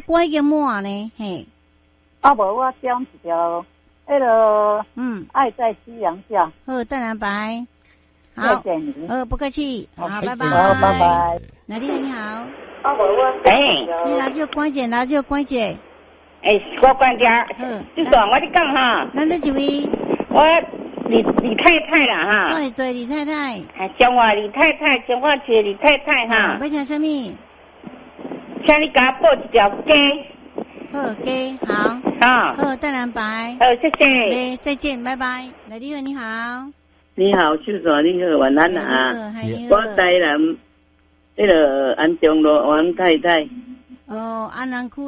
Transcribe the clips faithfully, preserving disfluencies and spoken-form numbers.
歌已經滿呢，嘿。啊，無我點一條，彼个嗯，愛在夕陽下。好，鄧藍白。好，謝謝你。好，不客氣。好，拜拜。好，拜拜。來，你好，你好。啊，無我。欸。你拿這關鍵，拿這關鍵。欸，我關鍵。嗯。這段我咧講哈。咱這一位。我李李太太啦哈。對對，李太太。彰化李太太，彰化市李太太哈。欲聽啥物？請你共我報一條歌。好，歌好。好。好，鄧藍白。好，謝謝。欸，再見，拜拜。來，你好，你好。你好，秀秀，你好，晚安啊。我台南，彼个安中路王太太。哦，安南區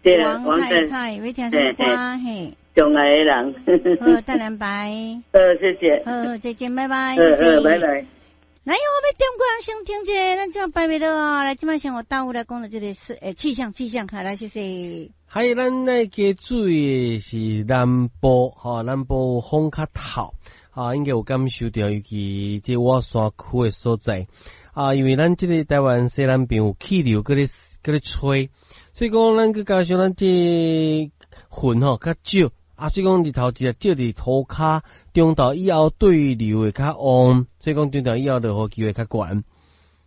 的王太太，欲聽啥物歌？嘿。上愛的人。好，鄧藍白。好，謝謝。好，再見，拜拜。好好，拜拜。來，我欲點歌，先聽這個，咱這擺袂落啊。來，這擺先予大武來講的這個是欸氣象，氣象，好，來，謝謝。還咱來加注意的是南部，吼，南部風較透，啊，應該有感受著，尤其這倚山區的所在，啊，因為咱這個台灣西南邊有氣流閣咧閣咧吹，所以講咱閣加上咱這雲吼較少。啊，所以講日頭一日照佇塗跤，中晝以後對流會較旺，所以講中晝以後落雨機會較懸。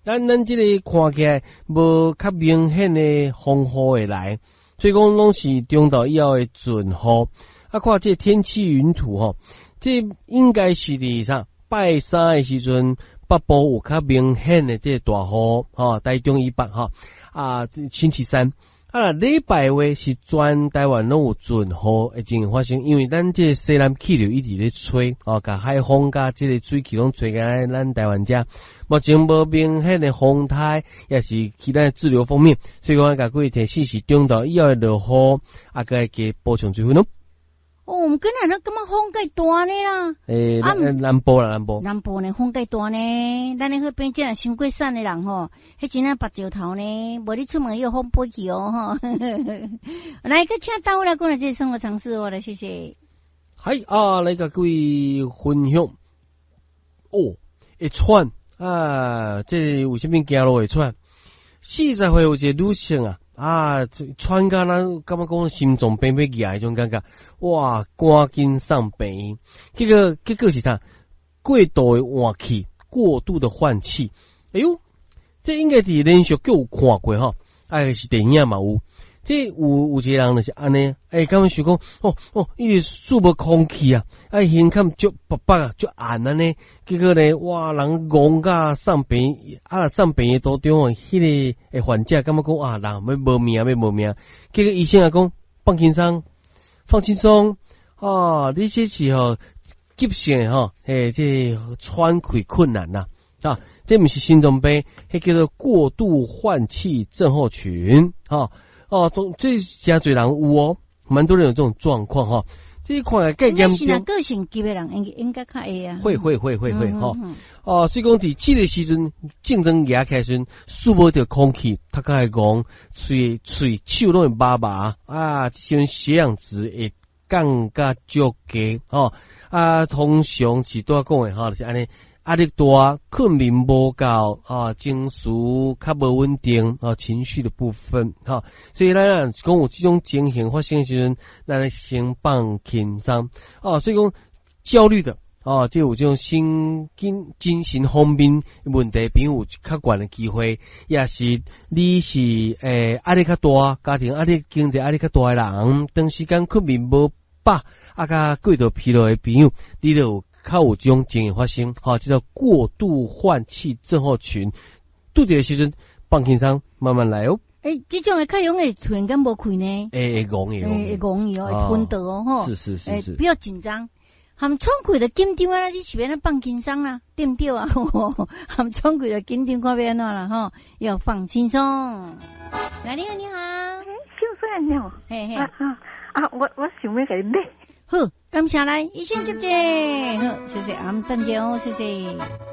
咱咱這個看起來無較明顯的風雨會來，所以講攏是中晝以後會陣雨。啊，看這個天氣雲圖吼，這應該是佇啥拜三的時陣，北部有較明顯的這個大雨，吼，台中以北吼，啊，星期三。啊，禮拜話是全台灣攏有陣雨的情形發生，因為咱這個西南氣流一直咧吹，哦，共海風佮這個水汽攏吹來咱台灣遮。目前無明顯的風颱，抑是其他的滯留鋒面，所以講共各位提醒是中晝以後會落雨，啊，閣愛加補充水分咯。哦，我們跟咱感覺風較大呢啦。欸，南南部啦，南部。南部呢風較大呢，咱彼邊這傷過瘦的人吼，彼真正縛石頭呢，無你出門有風飛去哦吼。來，閣請大武來講來這個生活常識哦，來謝謝。嗨啊，來共各位分享。哦，會喘啊，這為啥物行路會喘？四十歲有一個女性啊。啊，喘甲咱感覺講心臟病欲舉彼種感覺，哇，趕緊送病院。結果結果是啥？過度的換氣，過度的換氣。哎喲，這應該佇連續劇有看過吼，啊是電影嘛有。這有有一個人就是按呢，欸，感覺想講，哦哦，伊是吸無空氣啊，啊，胸坎足薄薄啊，足絚按呢，結果呢，哇，人戇甲送病院，啊，送病院途中哦，彼个患者感覺講啊，人欲無命，欲無命，結果醫生也講放輕鬆，放輕鬆，啊，你這是吼急性的吼，欸，這喘氣困難啦，啊，這毋是心臟病，彼叫做過度換氣症候群，吼。哦，都這誠濟人有哦，蠻多人有這種狀況哈。這看來較嚴重。個性急的人應應該較會啊。會會會會會吼。哦，所以講佇這個時陣症狀惹起來時陣，吸無著空氣，頭殼會戇，喙喙手攏會麻麻啊，這時陣血氧值會降甲足低吼。啊，通常是拄仔講的吼，就是按呢。壓力大、睏眠無夠啊，情緒較無穩定啊，情緒的部分哈，所以咱講有這種情形發生的時陣，咱先放輕鬆啊。所以講焦慮的啊，就有這種神經精神方面問題，朋友有較懸的機會，抑是你是欸壓力較大，家庭壓力、經濟壓力較大的人，長時間睏眠無飽，啊，佮過度疲勞的朋友，你就有較有這種情形發生，吼，這叫過度換氣症候群。拄著的時陣放輕鬆，慢慢來哦。欸，這種的較容易突然間無氣呢？會會戇會會戇去哦，會昏倒哦，吼。是是是是。不要緊張，含喘氣就緊張啊！你是欲按怎放輕鬆啦，對毋對啊？含喘氣就緊張，看欲按怎啦，吼，要放輕鬆。來，你好，你好。秀水你好。嘿嘿。啊啊啊！我我想欲共你買。好，感謝來，醫生姐姐，好，謝謝，阿們等下哦，謝謝。